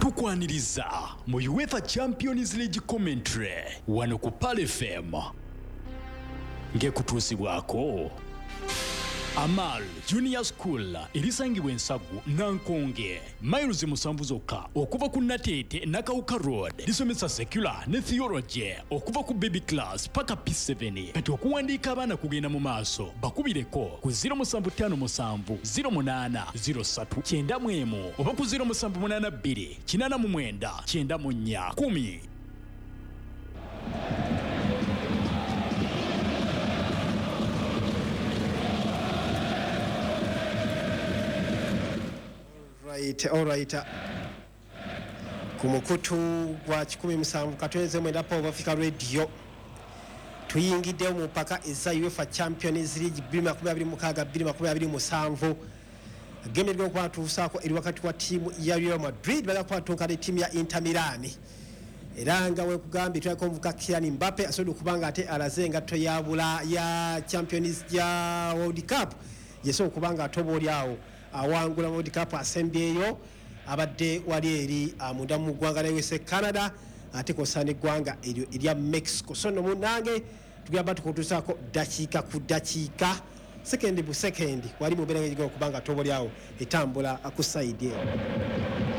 Tukwaniriza mu UEFA Champions League commentary wano ku Pearl FM ng'ekutuusibwako Amal Junior School erisangibwa Ensagu Nankonge, miles 7 zokka okuva ku Nateete Nakawuka Road. Lisomesa secular ne theology okuva ku baby class paka P7. Kati okuwandiika abaana kugenda mu maaso, bakubireko ku 0757 08 03 91 oba ku 0782 89 94 10. Right, all right. Ku mukutu gwa 107.9 Power Africa Radio tuyingiddewo mu mpaka eza UEFA Champions League 2026-2027. Game erigenda okuba tuusaako eri wakati wa ttiimu ya Real Madrid bagenda kuba ne ttiimu ya Inter Milan. Era nga wekugambye tulabika omuvubuka Kylian Mbappe asobodde okuba nga ate alaze engatto ya bula ya Champions ya World Cup yesobola okuba nga ate oba oli awo awangula World Cup asembyeyo abadde wali eri munda mu ggwanga lya USA, Canada ate kw'ossa n'eggwanga eryo erya Mexico. So nno munnange tugamba tukutuusaako ddakiika ku ddakiika, sekendi bu sekendi, wali mu mbeera ng'egigenda okuba nga ate oba oli awo etambula ku sayidi eno.